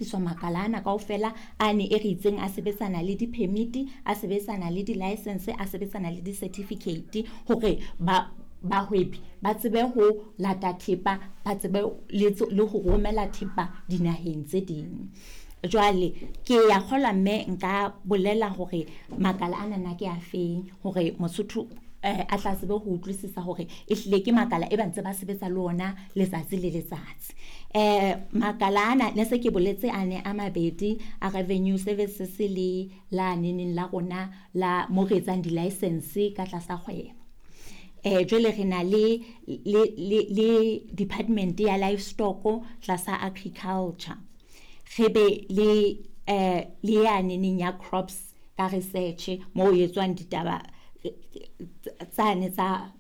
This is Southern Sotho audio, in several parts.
tliswa makala ana kaofela a ne e re itseng a sebetsana le di-permit, a sebetsana le di-license, a sebetsana le di-certificate hore ba bahwebi ba tsebe ho lata thepa, ba tsebe le ho romela thepa dinaheng tse ding. Jwale ke ya kgolwa mme nka bolela hore makala ana na ke a feng hore Mosotho a tla tsebe ho utlwisisa hore ehlile ke makala e ba ntse ba sebetsa le ona letsatsi le letsatsi. Makala ana ne se ke boletse a ne a mabedi, a Revenue Services le la neneng la rona la mo re etsang di-license ka tlasa kgwebo. Jwale re na le department ya livestock tlasa agriculture. Re be le ya neneng ya crops ka research mo ho etswang ditaba tsane tsa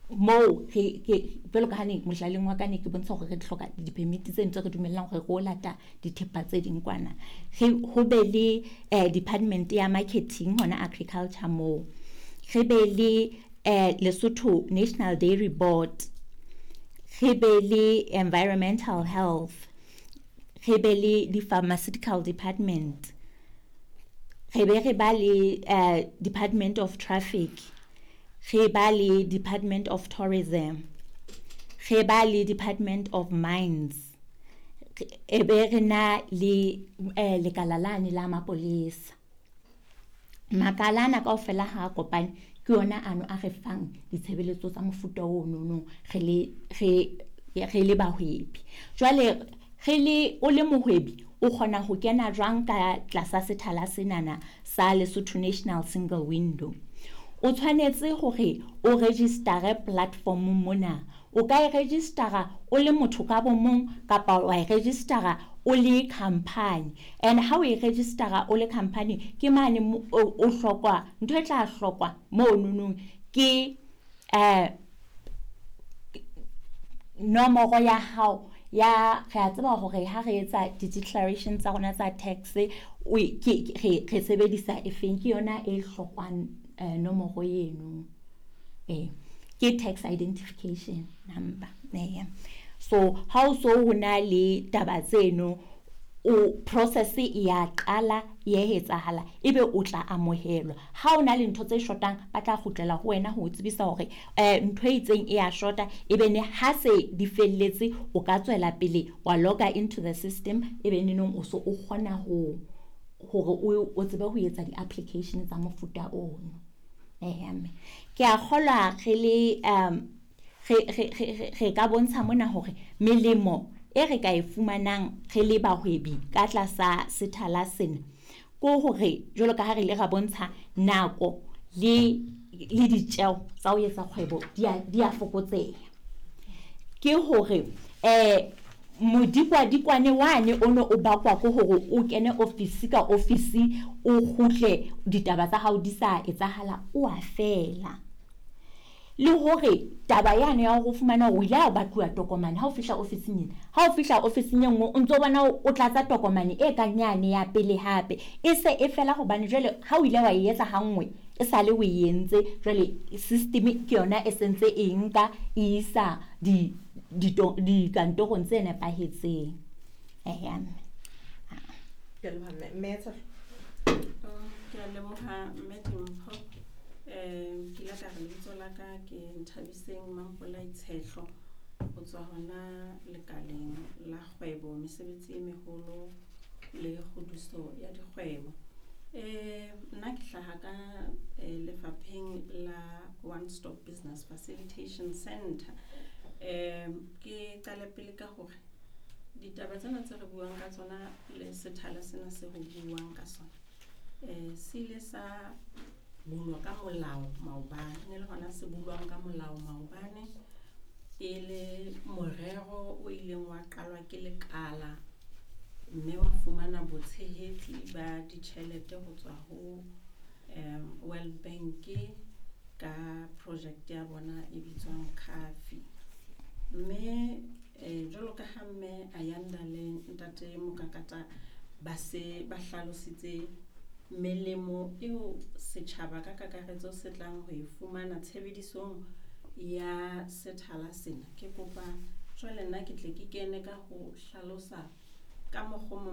moo re ke jwalo ka ha ne mohlaleng wa ka ne ke bontsha hore re hloka di-permit tse ntse re dumellang hore re o lata dithepa tse ding kwana. Re ho be le department ya marketing hona agriculture moo. Re be le Lesotho National Dairy Board. Re be le environmental health. Re be le di-pharmaceutical department. Re be re ba le Department of Traffic. Re ba le Department of Tourism. Re ba le Department of Mines. E be re na le lekala lane la mapolesa. Makala ana kaofela ha a kopane ke yona ano a re fang ditshebeletso tsa mofuta ono re le bahwebi. Jwale re le o le mohwebi o kgona ho kena jwang ka tlasa sethala senana sa Lesotho National Single Window? O tshwanetse hore o register platform mona. O ka e registera o le motho ka bo mong kapa wa e registera o le company. And ha o e registera o le company ke mane o hlokwa ntho e tla hlokwa monono ke nomoro ya hao ya re a tseba hore ha re etsa di-declaration tsa rona tsa tax o ke re sebedisa e feng, ke yona e hlokwang nomoro eno, ke tax identification number. So ha o so ho na le taba tseno, o process e ya qala e ya etsahala, ebe o tla amohelwa. Ha o na le ntho tse shotang, ba tla kgutlela ho wena ho o tsebisa hore ntho e itseng e ya shota, ebe ne ha se di felletse o ka tswela pele wa loga into the system, ebe neneng o so o kgona ho hore o tsebe ho etsa di-application tsa mofuta ono. Mme ke a kgolwa re le re ka bontsha mona hore melemo e re ka e fumanang re le bahwebi ka tlasa sethala sena ko hore jwalo ka ha re ile ra bontsha nako le ditjeo tsa ho etsa kgwebo di a fokotseha. Ke hore modikwadikwane wane o no o bakwa ke hore o kene ofisi ka ofisi, o kgutle ditaba tsa hao di sa etsahala, o a fela. Le hore taba yane ya hore o fumana hore o ile a batluwa tokomane ha o fihla ofising ena, ha o fihla ofising e nngwe o ntso bona o tlatsa tokomane e kang yane ya pele hape, e se e fela hobane jwale ha o ile wa e etsa ha nngwe e sale o e entse, jwale system ke yona e sentse e nka e isa dikantorong tse nepahetseng. Eya mme. Ke a leboha mme. Mme Tshehlo. Ke a leboha mme Dimpho. Ke ile ka re lebitso la ka ke Nthabiseng Mampolai Tshehlo ho tswa hona lekaleng la kgwebo, mesebetsi e meholo le kgodiso ya dikgwebo. Nna ke hlaha ka lefapheng la One Stop Business Facilitation Center. Ke qale pele ka hore ditaba tsena tse re buang ka tsona le sethala sena se ho buang ka sona se ile sa bulwa ka molao maobane, ne le hona se bulwang ka molao maobane e le morero o ileng wa qalwa ke lekala mme wa fumana botshehetsi ba ditjhelete ho tswa ho World Bank ka project ya bona e bitswang CAFI. Mme jwalo ka ha mme Ayanda le ntate Mokakata ba se ba hlalositse melemo eo setjhaba ka kakaretso se tlang ho e fumana tshebedisong ya sethala sena, ke kopa jwale nna ke tle ke kene ka ho hlalosa ka mokgo.